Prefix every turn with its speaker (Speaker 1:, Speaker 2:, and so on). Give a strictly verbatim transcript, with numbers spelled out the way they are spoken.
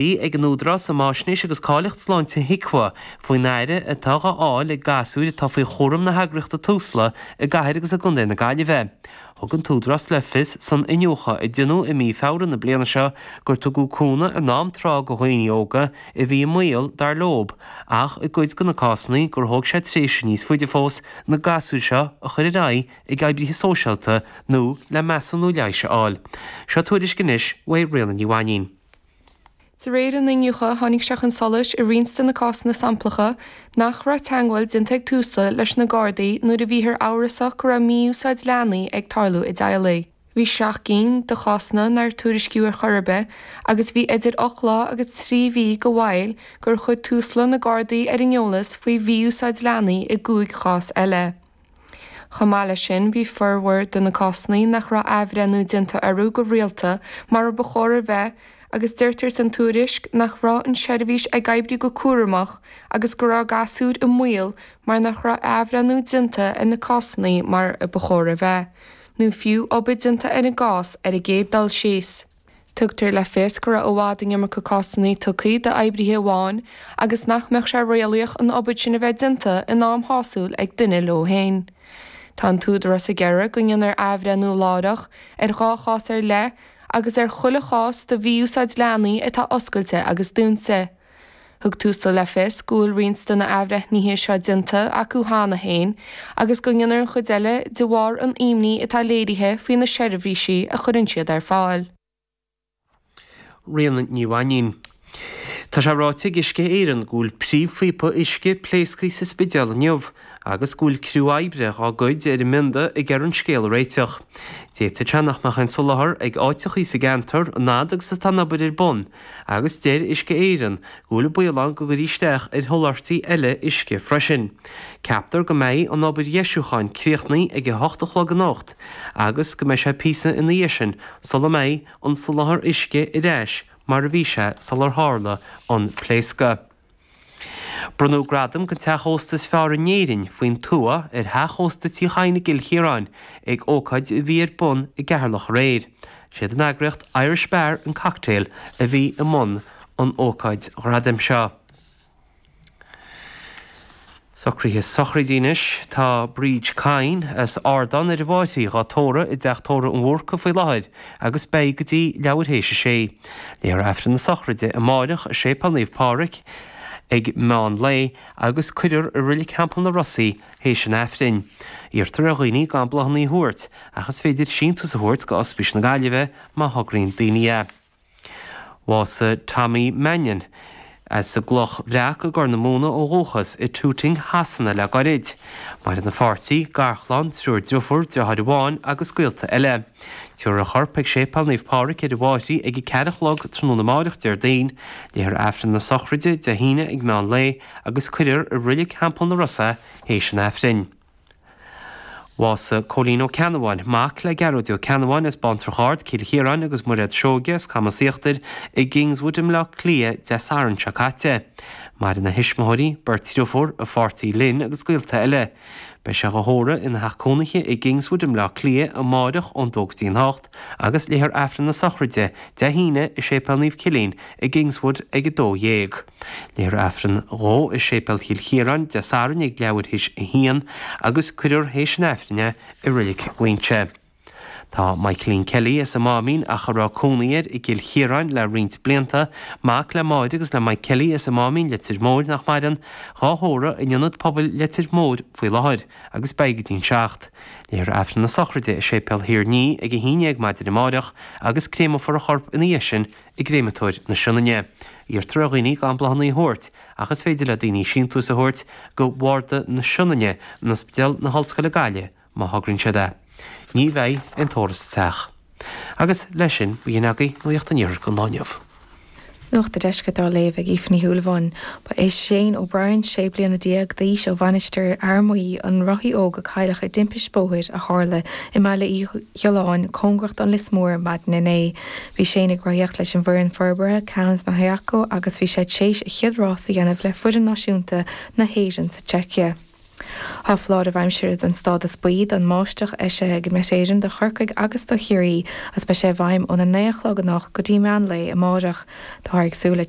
Speaker 1: Ag an Údarás um Fhaisnéis agus Cáilíocht Sláinte HIQA faoin aire atá á fháil ag gasúir atá faoi chúram na heagraíochta Tusla i gcathair agus i gcontae na Gaillimhe. Thug an tÚdarás le fios san iniúchadh a déanadh i mí Feabhra na bliana seo gur tugadh cúnamh in am tráth do dhaoine óga a bhí i mbaol, dar leob, ach i gcuid de na cásanna gur thóg sé tréimhse níos faide fós na gasúir seo a chur ar aghaidh ag oibrithe sóisialta nó le measúnú leighis a fháil. Seo tuairisc anois uaidh Ríona Ní Mhainín.
Speaker 2: De réir an iniúchadh, tháinig sé chun solais i roinnt de na cásanna samplacha nach raibh teagmháil déanta ag Tusla leis na Gardaí nuair a bhíothar amhrasach go raibh mí-úsáid leanaí ag tarlú i dteaghlaigh. Bhí seacht gcinn de chásanna nár tuairiscíodh ar chor ar bith agus bhí idir ocht lá agus trí mhí de mhoill gur chuir Tusla na Gardaí ar an eolas faoi mhí-úsáid leanaí i gcúig chás eile. Chomh maith leis sin, bhí formhór de na cásanna nach raibh athbhreithniú déanta orthu go rialta mar a ba chóir a bheith agus deirtear san tuairisc nach raibh an tseirbhís ag oibriú go cúramach agus go raibh gasúir i mbaol mar nach raibh athbhreithniú déanta ar na cásanna mar a ba chóir a bheith, nó fiú obair déanta ar an gcás ar an gcéad dul síos. Tugtar le fios go raibh i bhfad an iomarca cásanna tugtha d'oibrithe amháin agus nach mbeadh sé réalaíoch an obair sin a bheith déanta in am shásúil ag duine leo féin. Tá an tÚdarás ag iarraidh go ndéanfar athbhreithniú láithreach ar dhá chás ar leith agus ar chuile chás de mhí-úsáid leanaí atá oscailte agus dúnta. Thug Tusla le fios go bhfuil roinnt de na athbhreithnithe seo déanta acu cheana féin agus go ndéanfar an chuid eile de bharr an imní atá léirithe faoi na seirbhísí a chuireann siad ar fáil.
Speaker 1: Ríona Ní Mhainín. Tá sé ráite ag Uisce Éireann go bhfuil príomhphíopa uisce pléasctha sa Spidéal inniu agus go bhfuil criú oibre dá gcuid ar an mbionda ag iarraidh an scéal a réiteach. D'fhéadfadh sé nach mbeadh aon soláthar ag áiteachaí sa gceantar an fhad agus atá an obair ar bun agus deir Uisce Éireann go bhfuil baol ann go gcuirfí isteach ar sholáthairtí eile uisce freisin. Ceaptar go mbeidh an obair dheisiúcháin críochnaithe ag a hocht a chlog anocht agus go mbeidh sé píosa ina dhiaidh sin sula mbeidh an soláthar uisce ar ais mar a bhí sé sular tharla an pléascadh. Bronnadh gradam don teach ósta is fearr in Éirinn faoin tuath ar theach ósta Tí Chadhain i gCill Chiaráin ag ócáid a bhí ar bun i gCeatharlach aréir. Siad an eagraíocht Irish Bar and Cocktail a bhí i mbun an ócáid ghradaim seo. Socruithe sochraide anois. Tá Bríd Kyne as Ardán ar an bhFairche dhá tórramh i dTeach Tórraimh an Bhúrca faoi láthair agus beidh go dtí leathuair théis a sé. Léifear Aifreann na sochraide amáireach i Séipéal Naomh Pádraig ag meán lae agus cuirfear i Reilig Theampall na Ros í théis an Aifrinn. Iarrtar ar dhaoine gan bláthanna a thabhairt ach is féidir síntiús a thabhairt go Ospís na Gaillimhe má thograíonn daoine é. Bhásaigh Tommy Mannion as an gCloch Bhreac i gCorr na Móna ó dhúchas i Tooting Shasana le gairid. Maireann a pháirtí, garchlann, triúr driofúr, deartháir amháin agus gaolta eile. Tabharfar a chorp ag Séipéal Naomh Pádraig ar an bhFairche ag a ceathair a chlog tráthnóna amáireach Déardaoin, léifear Aifreann na sochraide Dé hAoine ag meán lae agus cuirfear i Reilig Theampall na Ros é théis an Aifrinn. Bhásaigh Cóilín Ó Ceannabháin, mac le Gearóid Ó Ceannabháin as Bántrach Ard, Cill Chiaráin agus Muiréad Seoige as Camas Íochtair i gKingswood i mBleá Cliath Dé Sathairn seo caite. Maireann a thuismitheoirí, beirt driofúr, a pháirtí Lynn agus gaolta eile. Beidh sé dhá thórramh ina theach cónaithe i gKingswood i mBleá Cliath amáireach ón dó go dtí an hocht agus léifear Aifreann na sochraide Dé hAoine i Séipéal Naomh Cillian i gKingswood ag a dó dhéag. Léifear Aifreann dhó i Séipéal Chill Chiaráin Dé Sathairn ag leathuair théis a haon agus cuirfear théis an Aifrinn é i Reilig Mhuinseo. Tá Michaelín Kelly as an Máimín ach a raibh cónaí air i gCill Chiaráin le roinnt blianta, mac le Máire agus le Mike Kelly as an Máimín, Leitir Móir, nach maireann, dhá thórramh in Ionad Pobail Leitir Móir faoi láthair agus beidh go dtí'n seacht. Léifear Aifreann na sochraide i Séipéal Thír an Fhia ag a haon dhéag maidin amáireach agus créamófar a chorp ina dhiaidh sin i gCréamatóir na Sionainne. Iarrtar ar dhaoine gan bláthanna a thabhairt ach is féidir le daoine síntiús a thabhairt go Bharda na Sionainne in Ospidéal na hOllscoile Gaillimh má thograíonn siad é. Ní bheidh aon tórramh sa teach. Agus leis sin, b'in agaibh Nuacht an Iarthair don lá inniu.
Speaker 3: Nuacht an Deiscirt á léamh ag Aoife Ní Shúilleabháin. Ba é Shane O'Brien, sé bliana déag d'aois ó Mhainistir Fhear Maí, an rothaí óg a cailleadh i dtimpiste bóthair a tharla i mBaile Uí Ghiolláin, cóngarach don Lios Mór, maidin inné. Bhí Shane ag rothaíocht leis an bhfoireann forbartha Cowans Mahaiyaku agus bhí sé tar éis a chéad rás a dhéanamh le foireann náisiúnta na hÉireann sa tSeicia. Tá foláireamh aimsire den stádas buí don mbáisteach eisithe ag Met Éireann do Chorcaigh agus do Chiarraí agus beidh sé i bhfeidhm óna naoi a chlog anocht go dtí meán lae amárach. Táthar ag súil le